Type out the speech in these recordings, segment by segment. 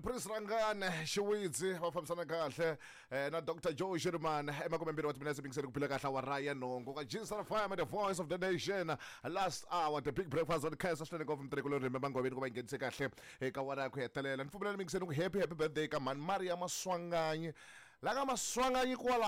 Prince Rangane Xiwidzi va fambisana kahle na Dr Joe Shirimani emakumembirhi wa timinetse mingiseni ku phila kahle awara ya nhungu ka Jinsara Fire the voice of the nation last hour the big breakfast on khensa swinene ngopfu mutirhi kulorhi manghoveni ku va yi nghenise kahle eka awara ya ku hetelela ni pfumelela mingiseni ku happy happy birthday ka mhani Maria Maswanganyi la ka Maswanganyi kwala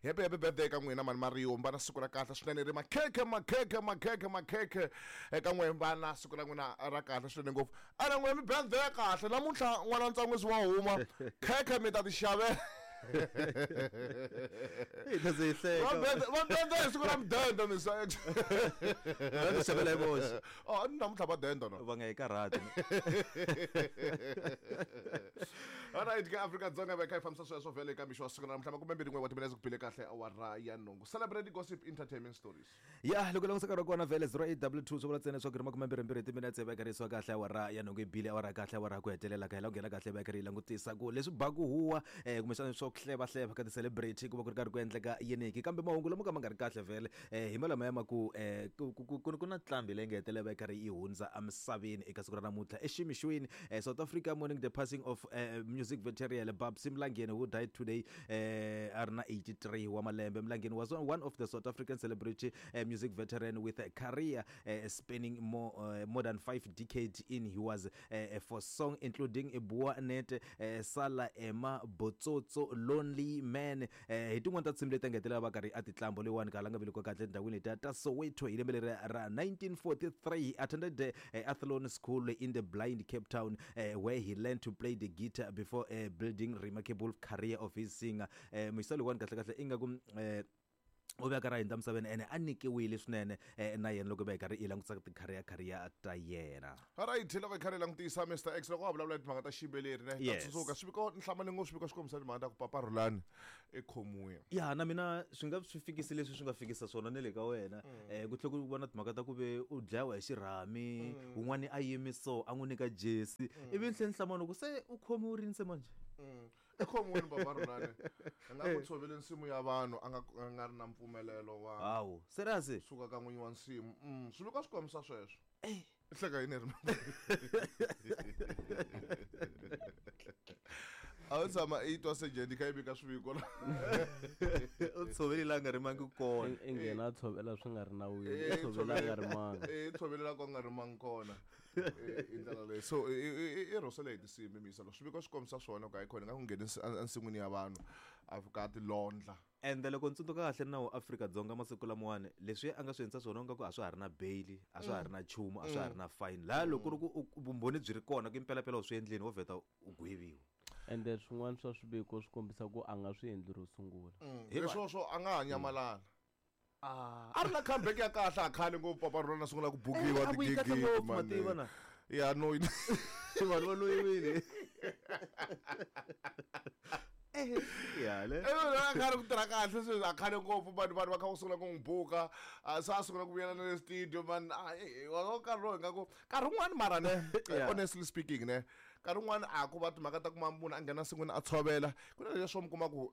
happy happy birthday ka n'wina mhani Mario va na siku ra kahle swinene ri makhekhe makhekhe makhekhe makhekhe eka n'we va na siku ra n'wina ra kahle swinene ngopfu a na n'we mi birthday ya kahle namuntlha n'wana ntsangwisi wa huma khekhe mi ta ti xavela Hi ta ze hi hleka. Va birthday hi siku ra mudende misa Va ti xavela hi voxe. Oh namuntlha va denda no Va nga yi karhati. Alright ka Afrika-Dzonga va kha hi fambisa sweswo vhele eka mixo wa siku ra namuntlha makumembirhi n'we wa timinetse ku bile kahle awara ya nhungu celebrate gossip entertainment stories. Ya loko langutisa nkarhi wa kona vhele 0822 swi vula ntsena leswaku ri makumembirhimbirhi timinetse va karisiwa kahle awara ya nhungu yi bile awara kahle awara ya ku hetelela ka hela ku nghena kahle va karhi yi langutisa ku leswi baku huwa kumbexana swa ku hlevahleva ka ti-celebrity ku va ku ri karhi ku endleka yiniki kambe mahungu lama ka ma nga ri kahle vhele hi malamaya ma ku ku na nqambi leyi nga hetelela va yi karhi yi hundza emisaveni eka siku ra namuntlha eximixweni South Africa mourning the passing of music veteran Babsy Mlangeni who died today a ri na 83 wa malembe. Mlangeni was one of the South African celebrity music veteran with a career spanning more than 5 decades in he was for song including Bua Net, Sala Ema, Botsotso, Lonely Man. Hi tin'wana ta tinsimu leti a nga hetelela va karhi a ti tlambo leyiwani ka la nga velekiwa kahle etindhawini letiya ta Soweto hi lembe leri ra 1943. He attended Athlone School in the Blind Cape Town where he learned to play the guitar before building remarkable career of his singer. Muyisa loyiwani kahle kahle ingaku u ve a karhi a hundza emisaveni ene a nyikiwile swinene na yena loko va hi karhi hi langutisa ti-career career ta yena. Alright loko hi karhi hi langutisa Mister X loko wa vulavula hi timhaka ta xiyimbeleri ne ta tsundzuka swiviko ni hlamale ngopfu swiviko swi kombisa timhaka ta ku Papa Rhulani i khomiwile. Ya na mina swi nga swi fikisi leswi swi nga fikisa swona ne le ka wena ku tlhela ku va na timhaka ta ku ve u dlayiwa hi xirhami wun'wani a yimi so a n'wi nyika jesi ivi ni tlhela ni hlamala ku se u khomiwe rini se manjhe. I khomiwile Papa Rhulani a nga ku tshovele nsimu ya vanhu a nga a nga ri na mpfumelelo wa Hawu serious? suka ka n'winyi wa nsimu swiviko swi kombisa sweswo. I hleka yini ri a wu tshama i twa sejeni kha yi vika swiviko la U tshovele la nga rimangi kona. I nghena a tshovela swi nga ri nawini i tshovela a nga rimanga. I tshovele la ku nga rimangi kona hi ndlela leyi so i rhosele hi tinsimbi miyisa lo swiviko swi kombisa swona ku hayikhona nga ku ngheni ensin'wini ya vanhu a fika a ti londla. Ende loko ni tsundzuka kahle nawu wa Afrika-Dzonga masiku lamawani leswi a nga swi endlisa swona ingaku a swa ha ri na bail a swa ha ri na nchumu a swa ha ri na fine laya loko ku ri ku vumbhoni byi ri kona ku impelapela u swi endlini wo vheta u gweviwa. Ende swin'wana swa swiviko swi kombisa ku a nga swi endli ro sungula. Leswo swo a nga ha nyamalala. A ri na comeback ya kahle a khale ngopfu Papa Rhulani a sungula ku bukiwa A vuyi kahle tigigi ngopfu mani. mativa na. Ya no Vanhu va loyiwile. Ya le. A khale ku tirha kahle sweswi a khale ngopfu vanhu vanhu va kha va sungula ku n'wi buka se a sungula ku vuyela na le studio man wa nkarhi lowu ingaku nkarhi wun'wani mara ne honestly speaking ne nkarhi wun'wani a ku va timhaka ta kuma munhu a nghena nsin'wini a tshovela ku na leswo mi kuma ku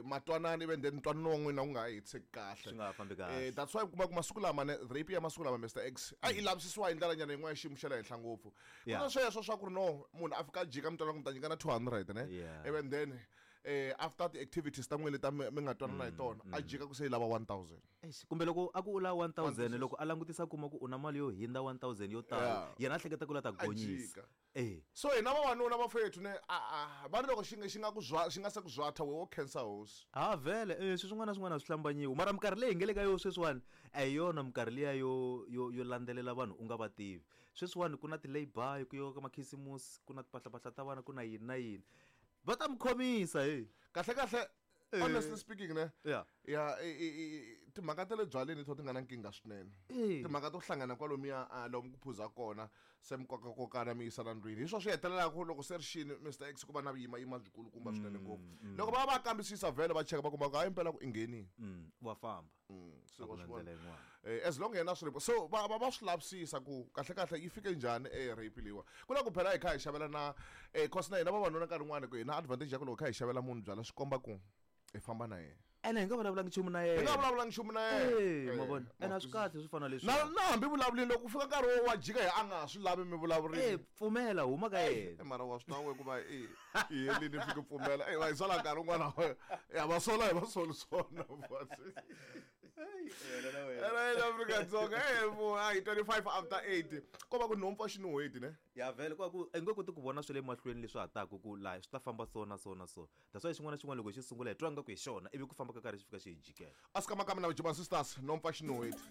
matwanani ivi then ntwanano wa n'wina wu nga ha hetiseki kahle swi nga ha fambi kahle that's why u kuma ku masiku lama ne rape ya masiku lama Mister X a yi lavisisiwa hi ndlela nyana yin'wana ya xiyimo xa le henhla ngopfu ku na sweswo swa ku ri no munhu a fika a jika mi twana ku mi ta nyikana 200 ne ivi then after ti-activities ta n'wina leti mi nga twanana hi tona a jika ku se yi lava 1000 Eish, kumbe loko a ku u lava 1000 loko a langutisa a kuma ku u na mali yo hindza 1000 yo tala yena a hleketa ku la ta gonyisa e so hina vavanuna vafethu ne a va ri loko xi nga xi nga ku zwa xi nga se ku zwatha we wo khensa hosi ha vhele swilo swin'wana na swin'wana a swi hlambanyiwi mara minkarhi leyi hi nga le ka yona sweswiwani a hi yona minkarhi liya yo yo yo landzelela vanhu u nga va tivi sweswiwani ku na ti-lay-by ku yiwa ka makhisimusi ku na timpahlapahla ta vana ku na yini na yini va ta mi khomisa he kahle kahle honestly speaking ne Yeah. ya timhaka ta le byaleni to ti nga na nkingha swinene timhaka to hlangana kwalomuya lomu ku phuza kona se mi kokakokana mi yisana ndlwini hi swo swi hetelelaka loko se ri xini Mister X ku va na vuyimayima byikulukumba swinene ngopfu loko va va kambisisa vhele va cheka va kuma ku hayi impela ku i nghenini Wa famba Se A ku wa na swi vona. ndlela yin'wana. As long yena swi so va va va swi lavisisa ku kahle kahle yi fike njhani rape leyiwa ku na ku phela hi kha hi xavela na cause na hina vavanuna nkarhi wun'wani ku hi na advantage ya ku loko hi kha hi xavela munhu byala swi komba ku hi famba na yena. Ene hi nga vulavulangi nchumu na Hi nga yena. vulavulangi nchumu na yena. Eh, Eh, ma vona. Ene a swi kahle swi fana leswi. Na hambi vulavulini loko ku fika nkarhi wo wa jika hi a nga ha swi lavi mi vulavurini. Eh, pfumela huma ka yena. Eh, mara wa swi tiva ku va i i helini fike pfumela. Eh, va hi sola nkarhi wun'wana ya va sola hi va soli swona. Right, Afrika-Dzonga eh vo hi 25 after 8 ko va ku nhompfu a xi nuhweti ne. Ya vhele kwa ku i nge koti ku vona swa le mahlweni leswi ha taku ku laha swi ta famba so na so na so. That's why xin'wana na xin'wana loko xi sungula hi twa nga ku hi xona ivi ku famba ka karhi xi fika xi hi jikela. Aska makami na Juma Sisters nhompfu a xi nuhweti.